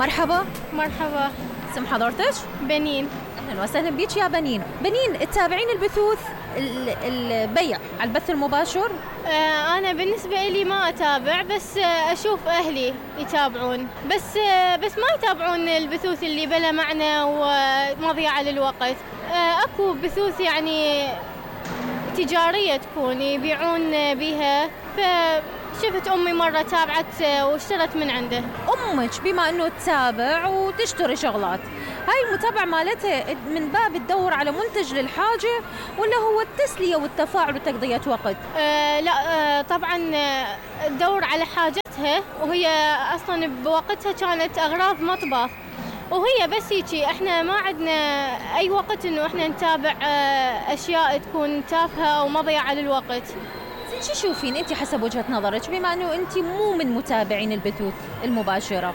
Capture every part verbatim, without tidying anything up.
مرحبا. مرحبا. اسم حضرتك؟ بنين. اهلا وسهلا بيك يا بنين. بنين، تتابعين البثوث البيع على البث المباشر؟ آه انا بالنسبه لي ما اتابع، بس آه اشوف اهلي يتابعون، بس آه بس ما يتابعون البثوث اللي بلا معنى ومضيعه للوقت. آه اكو بثوث يعني تجاريه تكون يبيعون بها، فشفت امي مره تابعت واشترت من عنده. امك بما انه تتابع وتشتري شغلات، هاي المتابعه مالتها من باب تدور على منتج للحاجه ولا هو التسليه والتفاعل وتقضيه وقت؟ آه لا آه طبعا آه تدور على حاجتها، وهي اصلا بوقتها كانت اغراض مطبخ، وهي بس هيجي. احنا ما عندنا اي وقت انه احنا نتابع آه اشياء تكون تافهه او مضيعه للوقت. شو تشوفين انت حسب وجهه نظرك، بما انه انت مو من متابعين البثوث المباشره،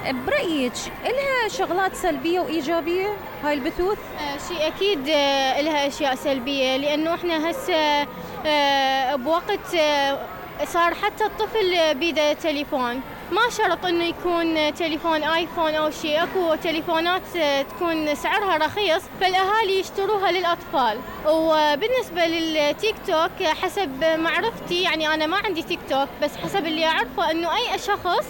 برأيك إلها شغلات سلبية وإيجابية هاي البثوث؟ آه شيء أكيد آه إلها أشياء سلبية، لأنه إحنا هسه آه بوقت آه صار حتى الطفل بيده تليفون، ما شرط إنه يكون تليفون آيفون أو شيء. أكو تليفونات آه تكون سعرها رخيص فالأهالي يشتروها للأطفال. وبالنسبة للتيك توك حسب معرفتي، يعني أنا ما عندي تيك توك، بس حسب اللي أعرفه إنه أي شخص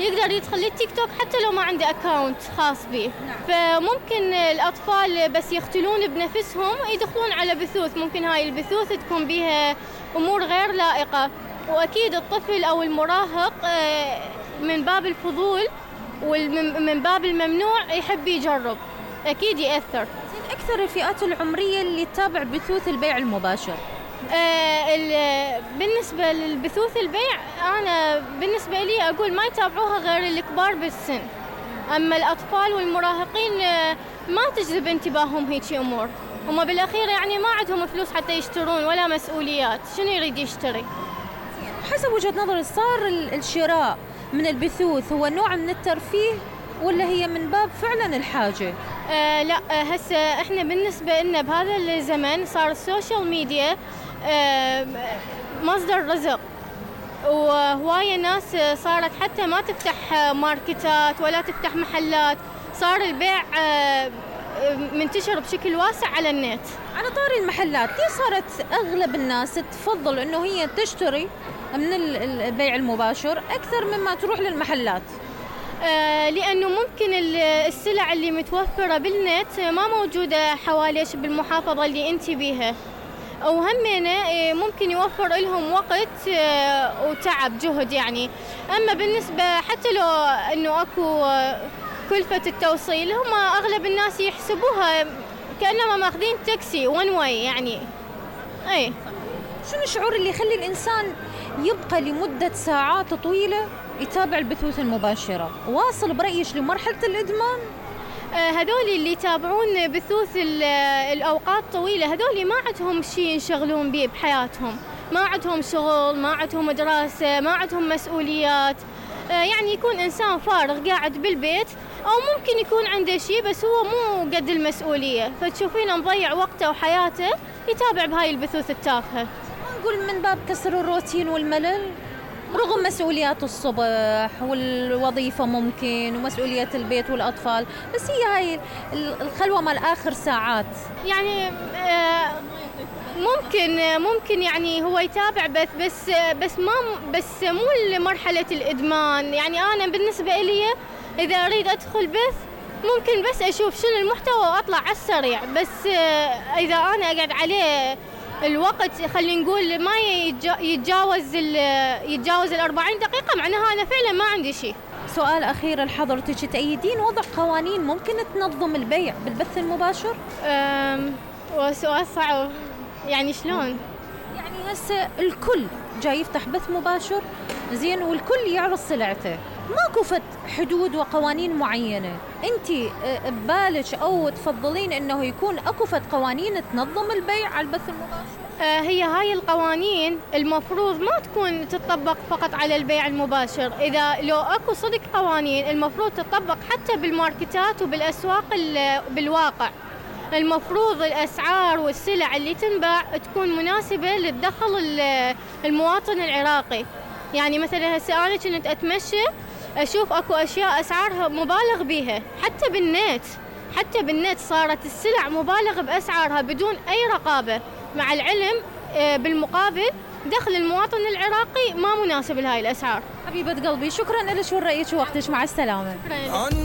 يقدر يدخل للتيك توك حتى لو ما عنده اكاونت خاص به. نعم. فممكن الاطفال بس يختلون بنفسهم يدخلون على بثوث، ممكن هاي البثوث تكون بها امور غير لائقه، واكيد الطفل او المراهق من باب الفضول ومن باب الممنوع يحب يجرب، اكيد ياثر. اكثر الفئات العمريه اللي تتابع بثوث البيع المباشر؟ آه بالنسبة للبثوث البيع أنا بالنسبة لي أقول ما يتابعوها غير الكبار بالسن، أما الأطفال والمراهقين آه ما تجذب انتباههم هيك أمور. هم بالأخير يعني ما عندهم فلوس حتى يشترون ولا مسؤوليات، شنو يريد يشتري؟ حسب وجهة نظري صار الشراء من البثوث هو نوع من الترفيه ولا هي من باب فعلا الحاجة؟ آه لا آه هسه احنا بالنسبة لنا بهذا الزمن صار السوشيال ميديا آه مصدر رزق، وهواية ناس صارت حتى ما تفتح ماركتات ولا تفتح محلات، صار البيع آه منتشر بشكل واسع على النت. على طاري المحلات، ليه صارت أغلب الناس تفضل إنه هي تشتري من البيع المباشر أكثر مما تروح للمحلات؟ آه لأنه ممكن السلع اللي متوفرة بالنت ما موجودة حواليش بالمحافظة اللي أنت بيها، وهمينه ممكن يوفر لهم وقت وتعب جهد يعني. أما بالنسبة حتى لو أنه أكو كلفة التوصيل، هم أغلب الناس يحسبوها كأنما ماخذين تاكسي ون واي يعني. أي شنو الشعور اللي يخلي الإنسان يبقى لمدة ساعات طويلة يتابع البثوث المباشرة، واصل برأيش لمرحلة الإدمان؟ هذول اللي يتابعون بثوث الأوقات طويلة، هذول ما عندهم شيء ينشغلون به بحياتهم، ما عندهم شغل، ما عندهم دراسة، ما عندهم مسؤوليات. يعني يكون إنسان فارغ قاعد بالبيت، أو ممكن يكون عنده شيء بس هو مو قد المسؤولية، فتشوفينه مضيع وقته وحياته يتابع بهاي البثوث التافهة. نقول من باب كسر الروتين والملل، رغم مسؤوليات الصبح والوظيفة ممكن ومسؤولية البيت والأطفال، بس هي هاي الخلوة مال آخر ساعات يعني ممكن ممكن يعني هو يتابع بس بس بس ما بس مو لمرحلة الإدمان. يعني أنا بالنسبة لي إذا أريد أدخل بث ممكن بس أشوف شنو المحتوى وأطلع على السريع، بس إذا أنا أقعد عليه الوقت خلينا نقول ما يتجاوز يتجاوز الأربعين دقيقة، معناها أنا فعلا ما عندي شيء. سؤال أخير لحضرتك، تأيدين وضع قوانين ممكن تنظم البيع بالبث المباشر؟ أم وسؤال صعب، يعني شلون؟ يعني هسه الكل جاي يفتح بث مباشر زين والكل يعرض سلعته، ماكو فت حدود وقوانين معينة، انت ببالك او تفضلين انه يكون اكو فت قوانين تنظم البيع على البث المباشر؟ آه هي هاي القوانين المفروض ما تكون تطبق فقط على البيع المباشر، اذا لو اكو صدق قوانين المفروض تطبق حتى بالماركتات وبالاسواق بالواقع. المفروض الاسعار والسلع اللي تنباع تكون مناسبة للدخل المواطن العراقي. يعني مثلا هسه انا كنت اتمشى أشوف أكو أشياء أسعارها مبالغ بيها، حتى بالنت حتى بالنت صارت السلع مبالغ بأسعارها بدون أي رقابة، مع العلم بالمقابل دخل المواطن العراقي ما مناسب لهاي الأسعار. حبيبة قلبي شكرا لك ورأيك ووقتك، مع السلامة.